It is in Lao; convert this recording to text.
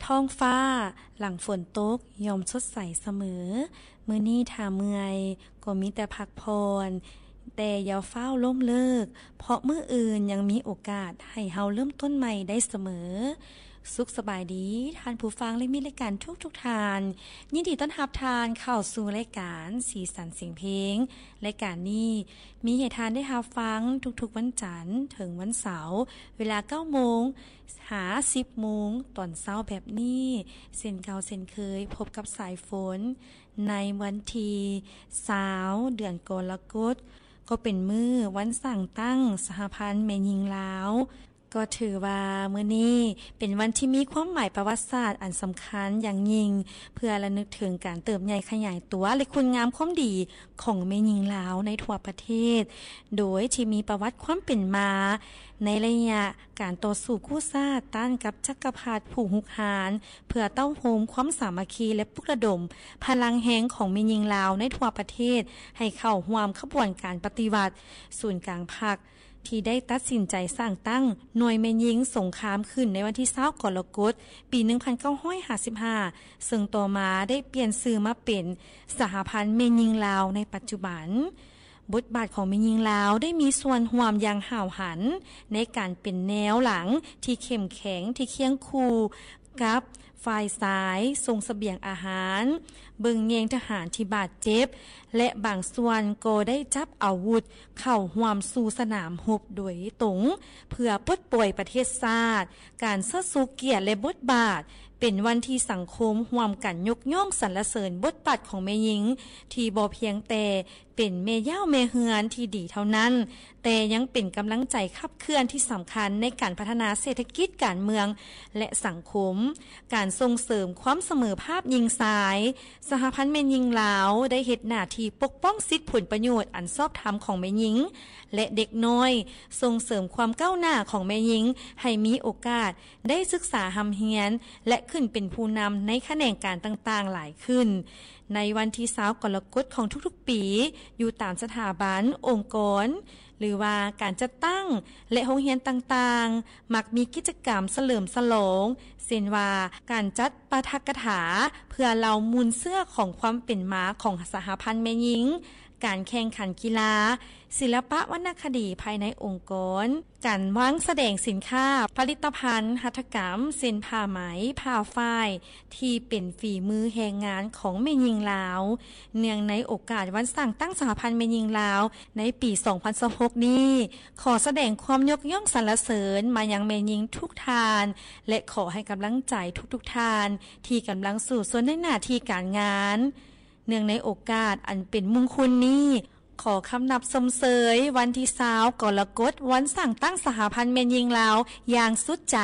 ທ້ອງຟ້າຫຼັງຝົນຕົກຍ່ອມສົດໃສສະເໝີ. ມື້ນີ້ຖ້າເມື່ອຍກໍມີແຕ່ພັກຜ່ອນ, ແຕ່ຢ່າຟ້າວລົ້ມເລີກ, ເພາະມື້ອື່ນຍັງມີໂອກາດໃຫ້ເຮົາເລີ່ມຕົ້ນໃໝ່ໄດ້ສະເໝີ. ສຸກສະບາຍດີທ່ານຜູ້ຟັງ ແລະ ມິດລາຍການທຸກໆທ່ານ. ຍິນດີຕ້ອນຮັບທ່ານເຂົ້າສູ່ລາຍການສີສັນສຽງເພງ. ລາຍການນີ້ມີໃຫ້ທ່ານໄດ້ຮັບຟັງທຸກໆວັນຈັນເຖິງວັນເສົາ ເວລາເກົ້າໂມງ ຫາສິບໂມງຕອນເຊົ້າແບບນີ້ ເຊັ່ນເກົ່າເຊັ່ນເຄີຍ ພົບກັບສາຍຝົນໃນວັນທີຊາວ ເດືອນກໍລະກົດ ກໍເປັນມື້ວັນສ້າງຕັ້ງສະຫະພັນແມ່ຍິງລາວ. ກໍຖືວ່າມື້ນີ້ເປັນວັນທີ່ມີຄວາມໝາຍປະຫວັດສາດອັນສຳຄັນຢ່າງຍິ່ງ ເພື່ອລະນຶກເຖິງການເຕີບໃຫຍ່ຂະຫຍາຍຕົວ ແລະ ຄຸນງາມຄວາມດີຂອງແມ່ຍິງລາວໃນທົ່ວປະເທດ ໂດຍທີ່ມີປະຫວັດຄວາມເປັນມາໃນໄລຍະ ການຕໍ່ສູ້ກູ້ຊາດຕ້ານກັບຈັກກະພັດຜູ້ຮຸກຮານ ເພື່ອເຕົ້າໂຮມຄວາມສາມັກຄີ ແລະ ປຸກລະດົມພະລັງແຮງຂອງແມ່ຍິງລາວໃນທົ່ວປະເທດ ໃຫ້ເຂົ້າຮ່ວມຂະບວນການປະຕິວັດ. ສູນກາງພັກທີ່ໄດ້ຕັດສິນໃຈສ້າງຕັ້ງໜ່ວຍແມ່ຍິງສົງຄາມຂຶ້ນໃນວັນທີຊາວ ກໍລະກົດ ປີໜຶ່ງພັນເກົ້າຮ້ອຍຫ້າສິບຫ້າ ເຊິ່ງຕໍ່ມາໄດ້ປ່ຽນຊື່ມາເປັນສະຫະພັນແມ່ຍິງລາວໃນປັດຈຸບັນ. ບົດບາດຂອງແມ່ຍິງລາວໄດ້ມີສ່ວນຮ່ວມຢ່າງຫ້າວຫັນໃນການເປັນແນວຫຼັງທີ່ເຂັ້ມແຂງ ທີ່ຄຽງຄູ່ກັບຝ່າຍຊາຍ ສົ່ງສະບຽງອາຫານ, ເບິ່ງແຍງທະຫານທີ່ບາດເຈັບ ແລະ ບາງສ່ວນກໍໄດ້ຈັບອາວຸດເຂົ້າຮ່ວມສູ່ສະໜາມຮົບໂດຍຕົງ ເພື່ອປົດປ່ອຍປະເທດຊາດ. ການເຊີດຊູກຽດ ແລະ ບົດບາດ ເປັນວັນທີ່ສັງຄົມຮ່ວມກັນຍົກຍ້ອງສັນລະເສີນບົດບາດຂອງແມ່ຍິງ ທີ່ບໍ່ພຽງແຕ່ ເປັນແມ່ເຍົາແມ່ເຮືອນທີ່ດີເທົ່ານັ້ນ, ແຕ່ຍັງເປັນກຳລັງໃຈຂັບເຄື່ອນທີ່ສຳຄັນໃນການພັດທະນາເສດຖະກິດ, ການເມືອງ ແລະ ສັງຄົມ. ການສົ່ງເສີມຄວາມສະເໝີພາບຍິງຊາຍ, ສະຫະພັນແມ່ຍິງລາວໄດ້ເຮັດໜ້າທີ່ປົກປ້ອງສິດຜົນປະໂຫຍດອັນຊອບທຳຂອງແມ່ຍິງ ແລະ ເດັກນ້ອຍ, ສົ່ງເສີມຄວາມກ້າວໜ້າຂອງແມ່ຍິງໃຫ້ມີໂອກາດໄດ້ສຶກສາຮ່ຳຮຽນ ແລະ ຂຶ້ນເປັນຜູ້ນຳໃນຂະແໜງການຕ່າງໆຫຼາຍຂຶ້ນ. ໃນວັນທີຊາວກໍລະກົດຂອງທຸກໆປີ, ຢູ່ຕາມສະຖາບັນ, ອົງກອນ ຫຼືວ່າການຈັດຕັ້ງ ແລະ ໂຮງຮຽນຕ່າງໆ ມັກມີກິດຈະກຳສະເຫຼີມສະຫຼອງ, ເຊັ່ນວ່າ ການຈັດປາຖະກະຖາເພື່ອເລົ່າມູນເຊື້ອຂອງຄວາມເປັນມາຂອງສະຫະພັນແມ່ຍິງ, ການແຂ່ງຂັນກິລາ, ສິລະປະວັນນະຄະດີພາຍໃນອົງກອນ, ການວາງສະແດງສິນຄ້າ, ຜະລິດຕະພັນຫັດຖະກຳ ເຊັ່ນ ຜ້າໄໝ, ຜ້າຝ້າຍ ທີ່ເປັນຝີມືແຮງງານຂອງແມ່ຍິງລາວ. ເນື່ອງໃນໂອກາດວັນສ້າງຕັ້ງສະຫະພັນແມ່ຍິງລາວໃນປີສອງພັນຊາວຫົກນີ້, ຂໍສະແດງຄວາມຍົກຍ້ອງສັນລະເສີນມາຍັງແມ່ຍິງທຸກທ່ານ ແລະ ຂໍໃຫ້ກຳລັງໃຈທຸກໆທ່ານທີ່ກຳລັງສູ້ຊົນໃນໜ້າທີ່ການງານ. ເນື່ອງໃນໂອກາດອັນເປັນມຸງຄຸນນີ້, ຂໍຄຳນັບຊົມເຊີຍວັນທີຊາວກໍລະກົດ ວັນສ້າງຕັ້ງສະຫະພັນແມ່ຍິງລາວຢ່າງສຸດໃຈ.